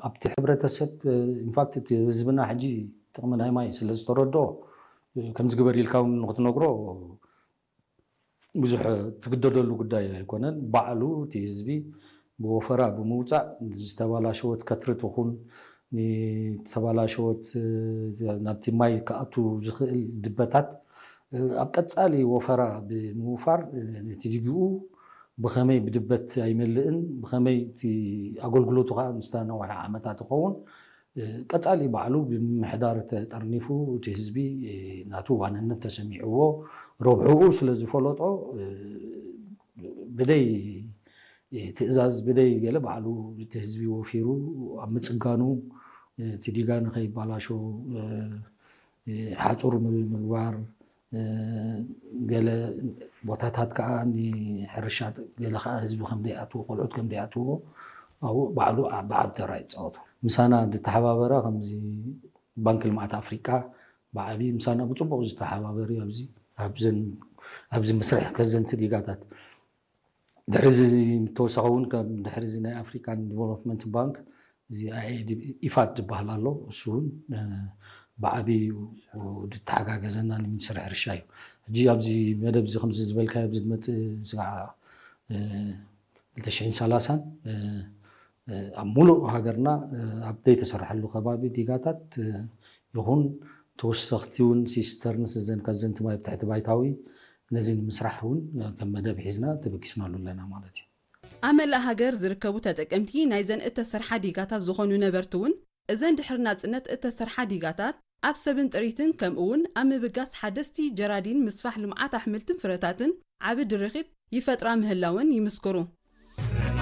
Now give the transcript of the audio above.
ኣብቲ ሕብረተሰብ ኢንፋክት እቲ ህዝብና ሕጂ ጥቕሚ ናይ ማይ ስለ ዝተረድኦ ከምዚ ግበር ኢልካ እውን ንክትነግሮ ብዙሕ ትግደደሉ ጉዳይ ኣይኮነን። ባዕሉ እቲ ህዝቢ ብወፈራ ብምውፃእ ዝተባላሸወት ከትሪ ትኹን ንተባላሸወት ናብቲ ማይ ክኣቱ ዝኽእል ድበታት ኣብ ቀፃሊ ወፈራ ብምውፋር ነቲ ዲጊኡ ብኸመይ ብድበት ኣይመልእን ብኸመይ እቲ ኣገልግሎቱ ከዓ ምስታ ነዋሒ ዓመታት ይኸውን ቀፃሊ ባዕሉ ብምምሕዳር ተጠርኒፉ እቲ ህዝቢ ናቱ ዋንነት ተሰሚዕዎ ረብሕኡ ስለ ዝፈለጦ ብደይ ትእዛዝ ብደይ ገለ ባዕሉ እቲ ህዝቢ ወፊሩ ኣብ ምፅጋኑ እቲ ዲጋ ንኸይባላሾ ሓፁር ምግባር ገለ ቦታታት ከዓ ንሕርሻ ገለ ከዓ ህዝቢ ከም ደይኣትዎ ቆልዑት ከም ደይኣትዎ ኣብኡ ባዕሉ ብዓቢ ተራ ይፃወቱ። ምሳና ዝተሓባበረ ከምዚ ባንክ ልምዓት ኣፍሪቃ ብዓቢ ምሳና ብፅቡቅ ዝተሓባበሩ ኣብዚ ኣብዚ ምስርሕ ከዘንቲ ዲጋታት ድሕሪ ተወሳኺ እውን ከም ድሕሪ ናይ ኣፍሪካን ዲቨሎፕመንት ባንክ እዚ ኢፋድ ዝበሃል ኣሎ እሱ እውን ብዓብዩ ዝተሓጋገዘና ንሚኒስትሪ ሕርሻ እዩ። ሕጂ ኣብዚ መደብ እዚ ከምዚ ዝበልካዮ ኣብዚ ዝመፅእ ስጋዕ 2030 ኣብ ሙሉእ ሃገርና ኣብ ዘይተሰርሐሉ ከባቢ ዲጋታት ይኹን ተወሰኽቲ እውን ሲስተርንስ እዘን ከዘንቲ ማይ ብትሕቲ ባይታዊ ነዚ ንምስራሕ እውን ከም መደብ ሒዝና ተበጊስናሉ ኣለና ማለት እዩ። ኣብ መላእ ሃገር ዝርከቡ ተጠቀምቲ ናይዘን እተሰርሓ ዲጋታት ዝኾኑ ነበርቲ እውን እዘን ድሕሪ ናጽነት እተሰርሓ ዲጋታት ኣብ ሰብን ጥሪትን ከምኡ እውን ኣብ ምብጋስ ሓደስቲ ጀራዲን ምስፋሕ ልምዓት ኣሕምልትን ፍረታትን ዓቢ ድርኺት ይፈጥራ ምህላወን ይምስክሩ።